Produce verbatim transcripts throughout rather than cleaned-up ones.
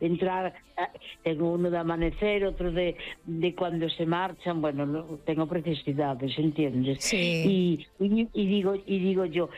entrar, tengo uno de amanecer, outro de, de cuando se marchan, bueno, no, tengo precisidades, ¿entiendes? Sí. Y, y, y digo y digo yo,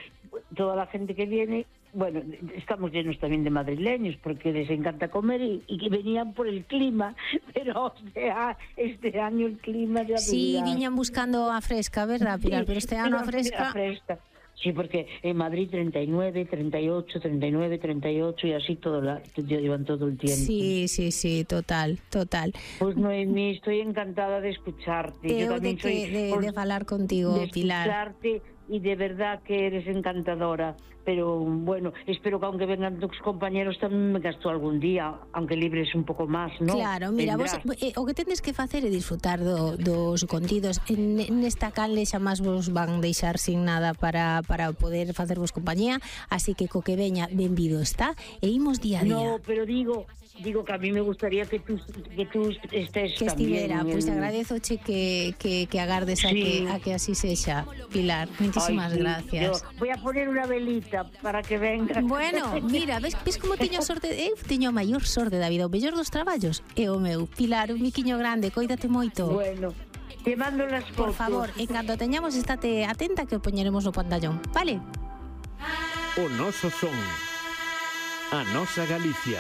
toda la gente que viene, bueno, estamos llenos también de madrileños porque les encanta comer y, y que venían por el clima, pero este, este año el clima ya sí, veía... viñan buscando a fresca, verdad, Pilar? Sí, pero este ano a fresca... a fresca. Sí, porque en Madrid treinta y nueve, treinta y ocho, treinta y nueve, treinta y ocho y así todo la, llevan todo el tiempo. Sí, sí, sí, total, total. Pues Noemí, estoy encantada de escucharte. Yo también de, soy que, de, pues, de falar contigo, de Pilar. escucharte y de verdad que eres encantadora. Pero bueno, espero que aunque vengan tus compañeros tamén me gasto algún día, aunque libres un pouco máis, non? Claro, mira, vos, eh, o que tendes que facer é disfrutar do, dos contidos. En, nesta canle xa máis vos van deixar sin nada para, para poder facervos compañía, así que co que veña, benvido está, e imos día a día. No, pero digo... Digo que a mí me gustaría que tú que tú estés que estivera, también. Pois pues agradezoche que, que, que agardes a, sí. que, a que así sexa, Pilar. Muchísimas Ay, sí. gracias. Yo voy a poner una velita para que venga. Bueno, mira, ves, ves como teño sorte, eu teño a maior sorte da vida, o mellor dos traballos é o meu. Pilar, un miquiño grande, coídate moito. Bueno, te mando las fotos. Por favor, en canto teñamos, estate atenta que o poñeremos no pantallón, vale? O noso son, a nosa Galicia,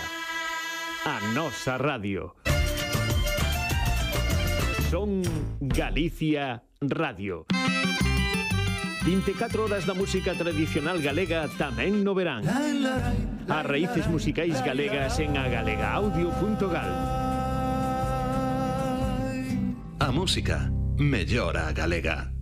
a nosa radio. Son Galicia Radio. vinte e catro horas da música tradicional galega tamén no verán. As raíces musicais galegas en agalegaaudio punto gal. A música mellora a galega.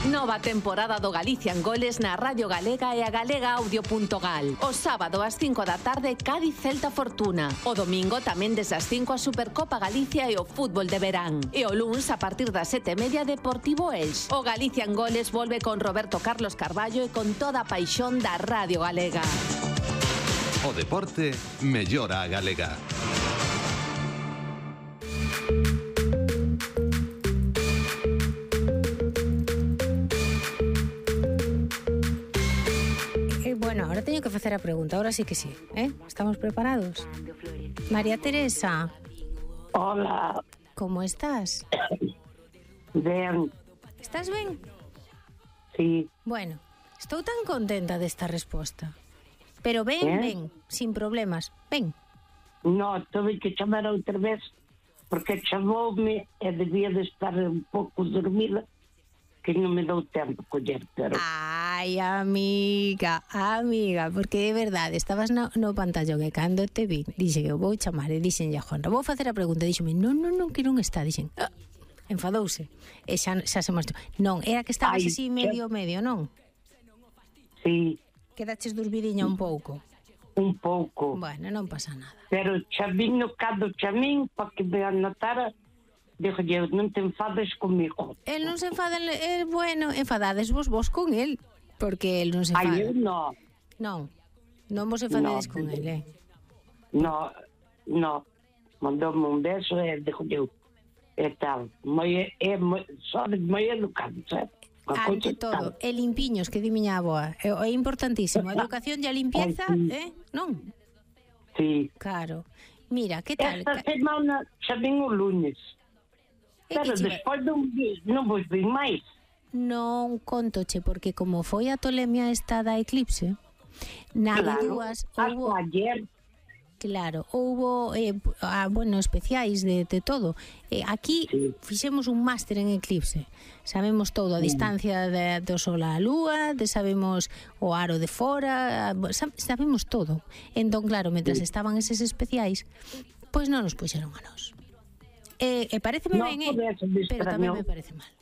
Nova temporada do Galicia en Goles na Radio Galega e a galegaaudio punto gal. O sábado ás cinco da tarde, Cádiz Celta Fortuna. O domingo tamén desde as cinco a Supercopa Galicia e o fútbol de verán. E o luns a partir das sete e media, Deportivo Elx. O Galicia en Goles volve con Roberto Carlos Carballo e con toda a paixón da Radio Galega. O deporte mellora a galega. Bueno, ahora teño que facer a pregunta, ahora sí que sí, ¿eh? ¿Estamos preparados? María Teresa. Hola. ¿Cómo estás? Ben. ¿Estás ben? Sí. Bueno, estou tan contenta desta resposta. Pero ben, ¿Eh? ben, sin problemas, ben. No, tuve que chamar outra vez porque chamoume e debía de estar un pouco dormida que non me dou tempo coller, pero... Ai, amiga, amiga, porque é verdade, estabas no, no pantallón e cando te vi, dixe que eu vou chamar e dixen a Juanra, vou facer a pregunta, dixeme, non, non, non, que non está, dixen, ah, enfadouse, e xa, xa se mostrou, non, era que estabas Ai, así medio, xa... medio, non? Sí. Quedaches durmidiña un pouco? Un pouco. Bueno, non pasa nada. Pero chamino cando chamín, para que me anotara, dixolle, non te enfades comigo. El non se enfada, é bueno, enfadades vos vos con el, porque el non se enfada. Ai, eu non. Non, non vos enfadades no, con el, eh? No, no, mandoume un beso e dixolle, e tal, moi, é, moi, son moi educado, sabe? Ante todo, e limpiños, que di miña avoa, é, é importantísimo, a educación e a limpieza, eh, non? Sí. Claro. Mira, que tal? Esta semana xa vin o lunes. Pero despois non, non vos vi máis. Non contoche, porque como foi a tolemia esta da eclipse, na claro, dúas houbo... ayer. Claro, houbo, eh, ah, bueno, especiais de, de todo. Eh, aquí sí. fixemos un máster en eclipse. Sabemos todo, a sí. distancia de, do sol á lúa, de sabemos o aro de fora, sabemos todo. Entón, claro, mentras sí. estaban eses especiais, pois non nos puxeron a nós. E, e pareceme no, ben, eh? Pero tamén me parece mal.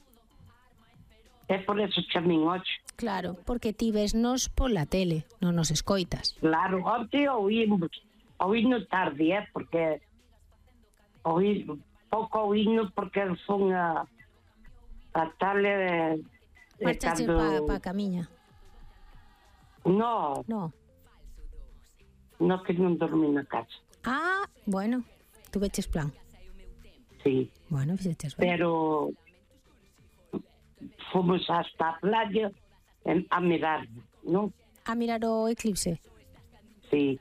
É por eso chamín hoxe. Claro, porque ti vesnos pola tele, non nos escoitas. Claro, hoxe oímos, oímos tarde, eh? Porque oí, pouco oímos porque son a a tale... Marchaste cando... pa, pa camiña? No. No. No, que non dormí na casa. Ah, bueno, tú veches plan. Sí. Bueno, fixeches ben. Pero fomos hasta a playa a mirar, non? A mirar o eclipse? Sí.